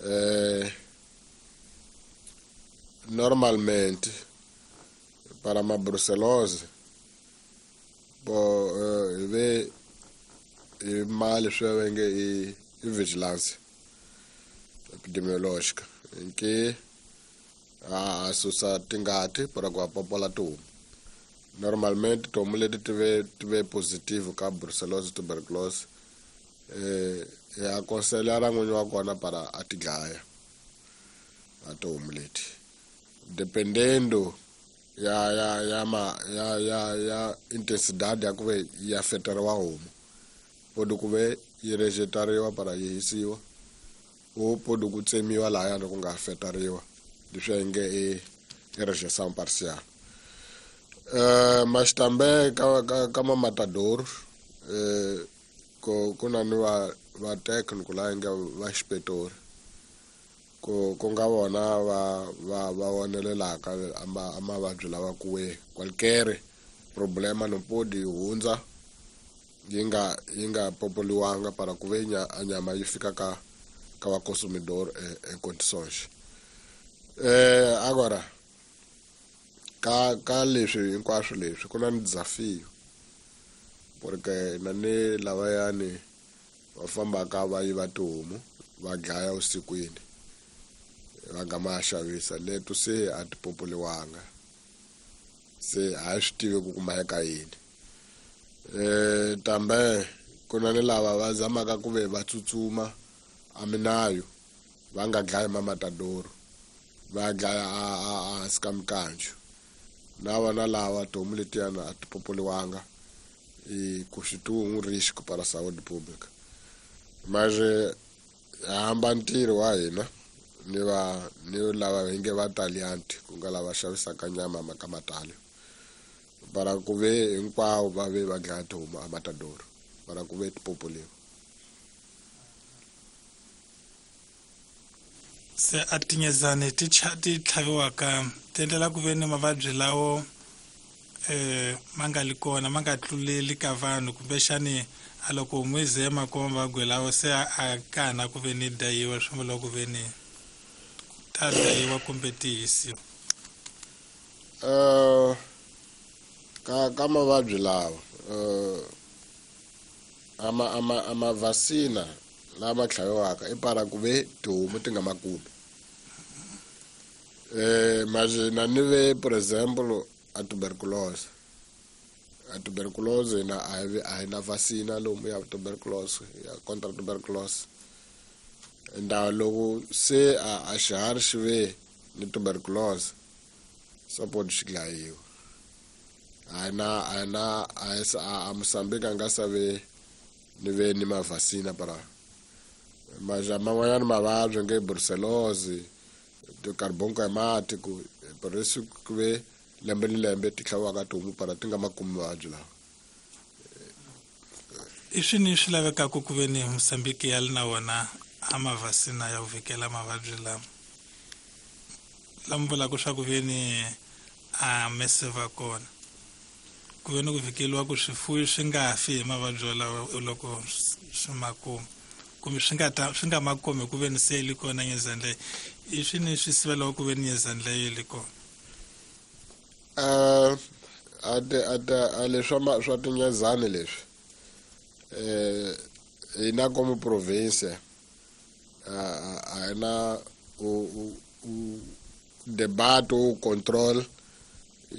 eh, normalmente para ma brucellose bo eh, ve i mali swi va nge i i vigilance epidemiológica nke a susa tingati para ku popola tihomu. Normalmente tihomu leti ti ve ti ve positive ka brucellosis, tuberculosis, eh ya aconselhar n'winyi wa kona para a ti dlaya a tihomu leti, dependendo ya ya ya ma ya ya ya intensidade ya ku ve yi afeteriwa homu, podi ku ve yi rejetariwa para yi hisiwa, o podi ku tsemiwa lahayani ku nga afeteriwa, leswi nge i i rejeição parcial. Eh, mas também ka ka ka matador, eh ko ku na ni va va técnico la nga va inspector, ku ku nga vona va va va vonelelaka ama a mavabyi lawa kuwe qualquer problema no podi hundza yi nga yi nga popoliwanga para ku ve nya a nyama yi fika ka ka va consumidor em condições. Eh, agora ka ka leswi hinkwaswo leswi ku na ni desafio, porque na ni lavayani va fambaka va yiva tihomu va dlaya vusikwini va nga ma xavisa, leto se a ti popoliwanga, se a hi swi tivi ku kumeka yini. Eh, tambe ku na ni lava va zamaka ku ve va tsutsuma a minayo va nga dlayi mamatadoro, va dlaya a a hansi ka mikanju, na vona lava tihomu letiyana a ti popoliwanga e constitui um risco para a saúde pública. Mas hamba ntirho wa hina ni va ni lava hi nge va talianti ku nga lava xavisaka nyama ka matali, para ku ve hinkwavo va ve va dlaya tihomu a matadoro para ku ve ti popoliwa.
Se a tinyezani ti ti tlhaviwaka ti endlela ku ve ni mavabyi lawo eh ma nga li kona, ma nga tluleli ka vanhu, kumbexani a loko homu yi ze ma kuma mavabyi lawo se a kana ku ve ni dayiwa, swi vula ku ve ni ta dayiwa kumbe ti hisiwa.
Eh, ka ka mavabyi lawa eh ama ama ama vacina lama tlhaviwaka i para ku ve tihomu ti nga ma kumi. Eh, mas na ni ve por exemplo a tuberculose, a tuberculose na a hi a hi na vacina lomu ya tuberculose ya contra tuberculose. Nda loko se a a xiharhi xi ve ni tuberculose support xi dlayiwa. A na a na a a Mozambique a nga sa ve ni ve ni mavacina para mas man'wanyana mavabyi nge brucellose, carbonco hemático, por isso ku ve lembe ni lembe ti tlhaviwaka tihomu para ti nga ma kumi mavabyi lawa.
I swini swi lavekaka ku ve ni Mozambique ya li na wona a mavacina ya ku vhikela mavabyi lama lama vulaka swa ku ve ni a mese va kona, ku ve ni ku vhikeliwa ku swifuwo swi nga fi hi mavabyi lawa loko swi ma kuma, kumbe swi nga ta swi nga ma kumi ku ve ni se li kona nyezani leyi, i swini swi sivelaka ku ve ni nyezani leyi li kona?
Eh, a ti a ti a leswi swa swa tinyezani leswi eh hina como província a hi na u u debate u control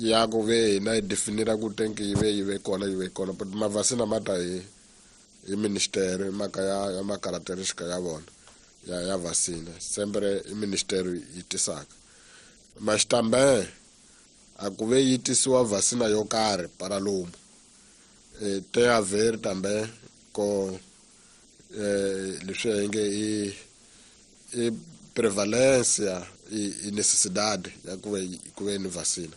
ya ku ve hina hi definira ku tenki yi ve yi ve kona yi ve kona, but mavacina ma ta hi hi ministério mhaka ya ya ma-característica ya vona ya ya vacina sempre i ministério yi tisaka. Mas também a ku ve yi tisiwa vacina yo karhi para lomu eh, tem a ver também com eh, leswi hi nge i i prevalência e, e necessidade ya ku ve ku ve ni vacina.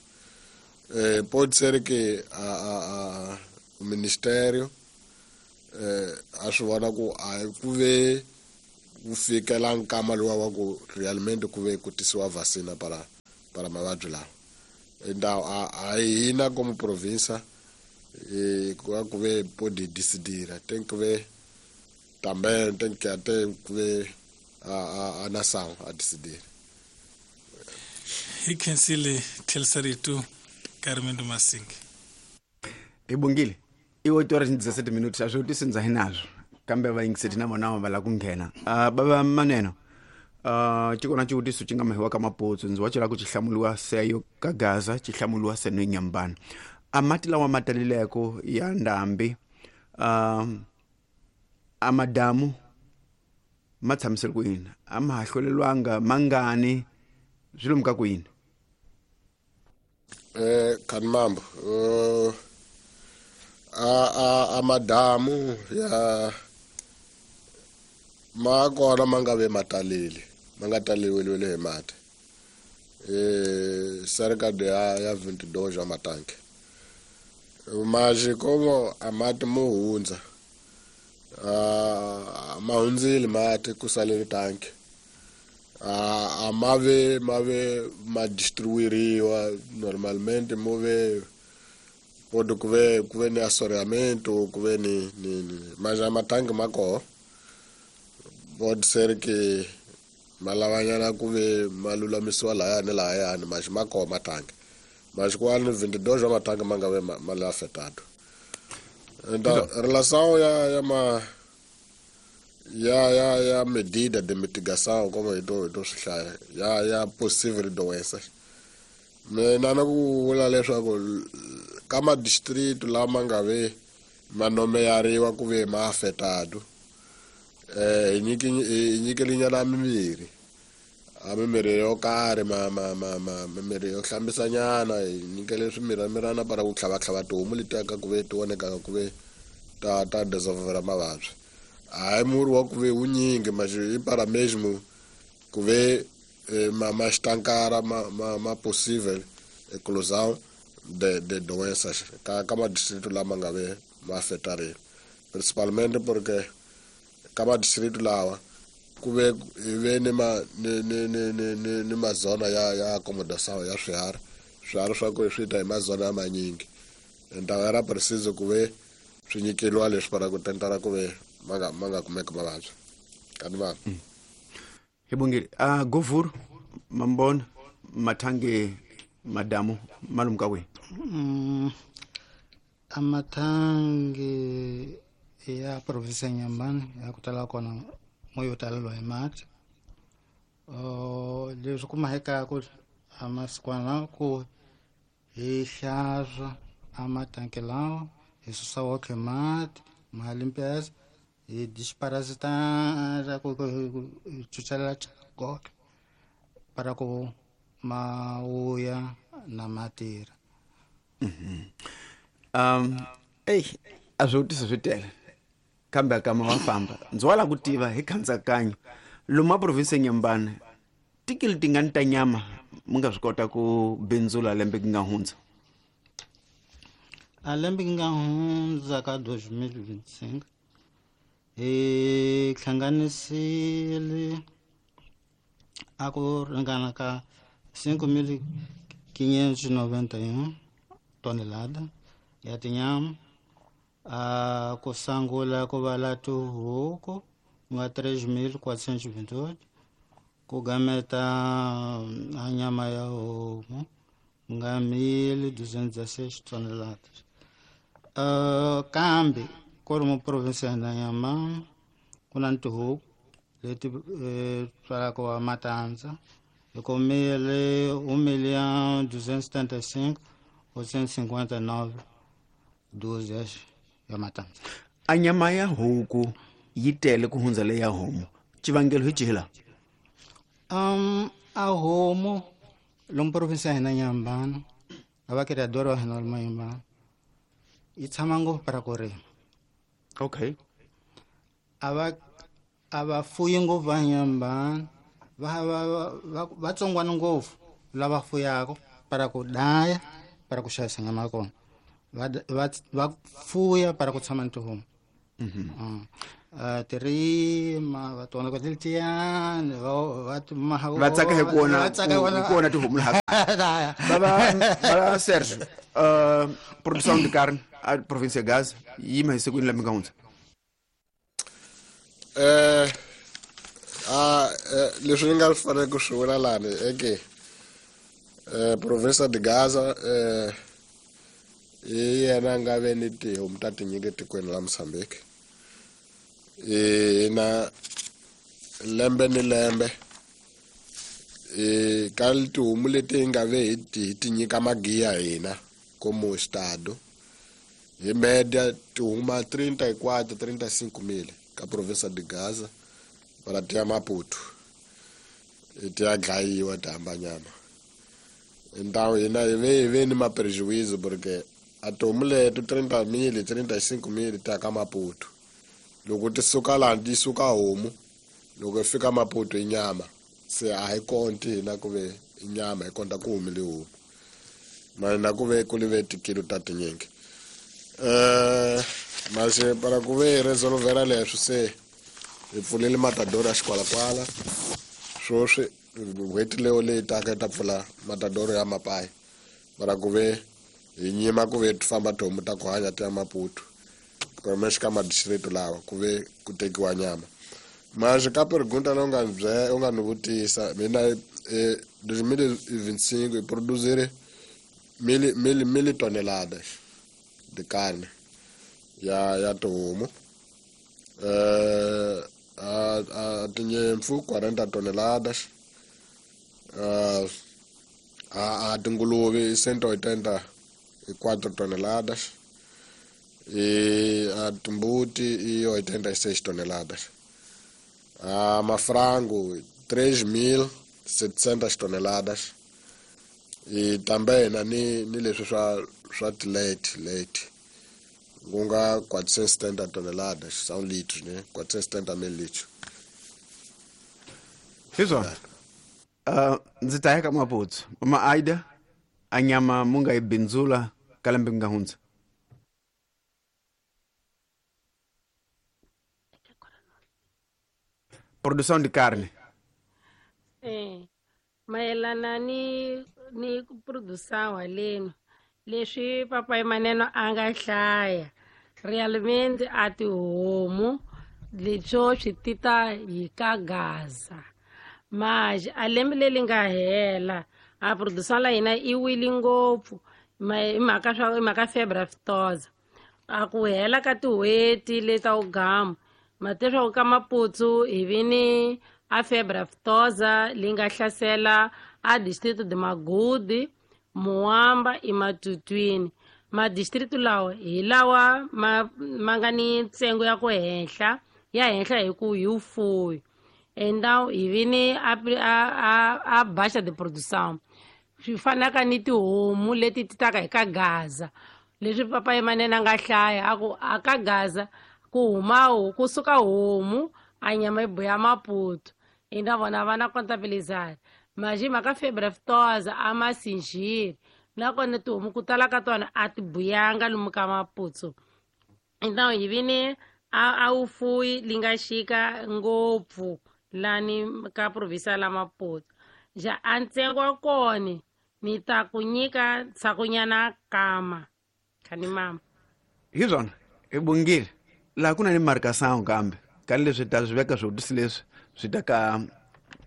Eh, pode ser que a, a, a, o ministério eh a swi vona ku a ku ve ku fikela nkama luwa wa ku realmente ku ve ku tisiwa vacina para para mavabyi lawa. Então a hina como província e ku ve pode decidir, tem que ver também, tem que até ver a a, a nação a decidir.
Hi khensile tlheliseritu Carmen Masingi.
Ibongile i oito horas e dezessete minutos, a swivutiso ndza hi nazwo kambe vayingiseti na vona va lava ku nghena. Uh, bava Maneno, uh, xi kona xivutiso xi nga mahiwa ka Maputsu, ndzi wa cela ku xi hlamuliwa seyo ka Gaza, xi hlamuliwa seno Nyambana. A mati lawa ma taleleko ya ndhambi, uh, a madamu ma tshamisele ku yini, a ma ha hlwelelwanga mangani, swi lomu ka ku yini?
Eh, Kanmambo, uh, a a a madamu ya ma kona ma nga ve mataleli, ma nga taleliwile hi mati. Eh, cerca de ya ya vinte e dois ya matanki. Mas como a mati mo hundza, a ma hundzile mati ku salele tanki. A a ma ve ma ve ma distribuiriwa normalmente, mo ve pode ku ve ku ve ni assoreamento, ku ve ni ni, ni. Mas a matanki ma koho pode ser que ma lavanyana ku ve ma lulamisiwa lahaya ni lahayani, mas ma koho matanki. Mas quase vinte e dois wa matanki ma nga ve ma, ma le afetado. Então relação ya ya ma ya ya ya medida de mitigação como eu tô eu tô swi ya ya possível doenças. Mina na ku vula leswaku ka ma distrito lama nga ve ma nomeyariwa ku ve ma afetado, eh hi nyiki hi nyikelinyana mimirhi, a mimirhi yo karhi, ma ma ma ma mimirhi yo hlambisanyana, hi nyikele swimiramirana para ku tlhavatlhava tihomu letiya ka ku ve ti vonekaka ku ve ta ta desenvolver mavabyi. Hayi murhi wa ku ve wunyingi, mas i para mesmo ku ve ma ma estancar ma ma ma possível eclosão de de doenças ka ka ma distrito lama nga ve ma afetarile, principalmente porque ka ma distrito lawa ku ve ve ni ma ni ni ni ni ni, ni mazona ya ya acomodação ya swiharhi, swiharhi swa ku swi ta hi mazona ya manyingi. Então era preciso ku ve swi nyikeliwa leswi para ku tentara ku ve ma nga ma nga kumeki mavabyi. Kanti va
Hi bongile. A Govur mambona mathange madamu malumu ka kwihi?
Mm, amathangi ya provinsi ya Inhambane ya ku tala kona mo yo taleliwa hi mati. Uh, leswi kumahekaku a masikwana ku hi hlantswa a matanki lawa, hi susa wotlhe mati ma limpeza, hi desparasitar ku hi chuchela gotlhe para ku ma vuya na matirha.
Um ey a swivutiso swi tele kambe kama wa famba ndzi wa lava ku tiva hi khansakanyo lomu a province ya Inhambane tikili tingani ta nyama mi nga swi kota ku bindzula lembe ku nga hundza?
A lembe ku nga hundza ka dois mil e vinte e cinco hi hlanganisile a ku ringana ka cinco mil quinhentos e noventa e um tonelada ya tinyama. A ku sungula ku va la tihuku ku nga três mil quatrocentos e vinte e oito, ku gameta a nyama ya homu ku nga mil duzentos e dezesseis toneladas. Uh, kambe ku ri mu provinsi ya Inhambane ku na tihuku leti eh, tswalaka wa matandza hi kumile um milhão duzentos e setenta e cinco oitocentos e cinquenta e nove dúzias ya matandza.
A nyama ya huku yi tele ku hundza leya homu, xivangelo hi xihi la?
Um, a homu lomu provinsi ya hina Inhambane a va criador wa hina lomu Inhambane yi tshama ngopfu para ku rima.
Okay.
A va a va fuyi ngopfu va Inhambane, va va va va tsongwana ngopfu lava fuyaka para ku daya para ku xavisa nyama ya kona, va va va fuya para ku tshama ni tihomu. Mm-hmm. Tirima va tona ka tiltiyani va va maha
va tsaka hi ku vona ku vona tihomu laha baba baba Sergio uh produção de carne a província Gaza yima hi siku ni lembe nga hundza
eh a leswi ni nga fanele ku swi vula lani eke eh província de Gaza eh hi yena nga ve ni tihomu ta tinyingi tikweni la Mozambique e na lembe ni lembe e ka tihomu leti nga ve hi ti tinyika magiya hina como estado hi média tihuma trinta e quatro, trinta e cinco mil ka província de Gaza para ti ya Maputo ti ya dlayiwa ti hamba nyama então hina hi ve hi ve ni maprejuízo porque a tihomu leto trinta mil, trinta e cinco mil ti ya ka Maputo loko ti suka laha ti suka homu loko i fika Maputo i nyama se a hi konti hina ku ve i nyama hi konta ku humile homu mara na ku ve ku live tikilo ta tinyingi eh mas para ku ve resolvera leswi se hi pfulile matadoro ya xikwalakwala swoswi n'hweti leyo leyi taka yi ta pfula matadoro ya mapayi para ku ve hi nyima ku ve ti famba tihomu ta ku hanya ti ya Maputo pelo menos ka madistrito lawa ku ve ku tekiwa nyama mas ka pergunta leyi u nga ni bye u nga ni vutisa mina eh dois mil e vinte e cinco hi produzire mil mil mil toneladas de carne ya ya tihomu eh a a tinyimpfu quarenta toneladas a a tinguluve cento e oitenta e quatro toneladas e a timbuti e oitenta e seis toneladas a mafrango três mil setecentas toneladas e também na ni ni leswi swa swa leite leite ku nga quatrocentos e setenta toneladas são litros né quatrocentos e setenta mil litros
hi swona uh ndzi ta ya ka Maputo mama Aida a nyama mu nga yi bindzula ka lembe nga hundza produção de carne
eh mayelana ni ni ku produção haleni leswi papai Maneno a nga hlaya realmente a tihomu leswo swi tita hi ka Gaza mas a lembe leri nga hela a produção la hina i wile ngopfu hi mhaka swa hi mhaka febre aftosa a ku hela ka tin'hweti leta wugamu mateswaku ka Maputo hi vi ni a febre aftosa leyi nga hlasela a distrito de Magude Muamba i Matutwini madistrito lawa hi lawa ma ma nga ni ntsengo ya ku henhla ya henhla hi ku hi vufuwi enda hi vi ni a a a baixa de produção swi fanaka ni tihomu leti ti taka hi ka Gaza leswi papai Manene a nga hlaya a ku a ka Gaza ku huma kusuka homu a nyama yi buya Maputo enda vona va na contabilizar mas hi mhaka febre aftosa a ma sinjiri nakona tihomu ku tala ka tona a ti buyanga lomu ka Maputo então hi vi ni a a vufuwi li nga xika ngopfu lani ka província la Maputo ja a ntsengo wa kona ni ta ku nyika ndzhakunyana kama khani mama
hi swona hi bungile laha ku na ni marcação kambe ka leswi ta swi veka swivutiso leswi swi ta ka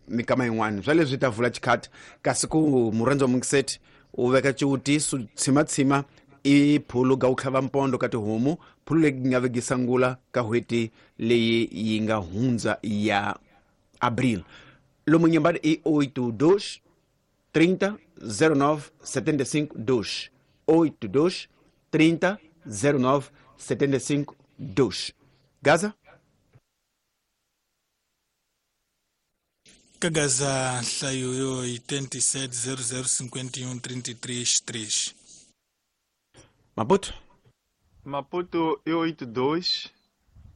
mikama yin'wana swa leswi ta vula xikhati kasi ku murhandzi wa mungiseti u veka xivutiso tshimatshima i phulu ga u tlhava mpondo ka tihomu phulu leyi nga vekisa ngula ka n'hweti leyi yi nga hundza ya abril lomu nyambani i oito dois trinta zero nove setenta e cinco dois oito dois trinta zero nove setenta e cinco dois Gaza
ka Gaza nhlayo yo oitenta e sete zero zero cinquenta e um trinta e três três
Maputo
Maputo é oito dois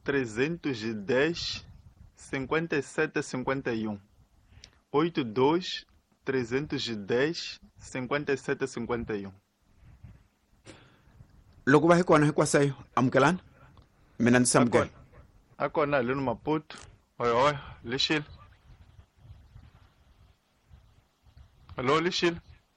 trezentos e dez cinquenta e sete cinquenta e um oito dois trezentos e dez cinquenta e sete cinquenta e um
loko va hi kona hinkwasayo amukelani Mina ndzi samukela.
A kona haleni Maputo. Hoy hoy, lexile. Hello, lexile.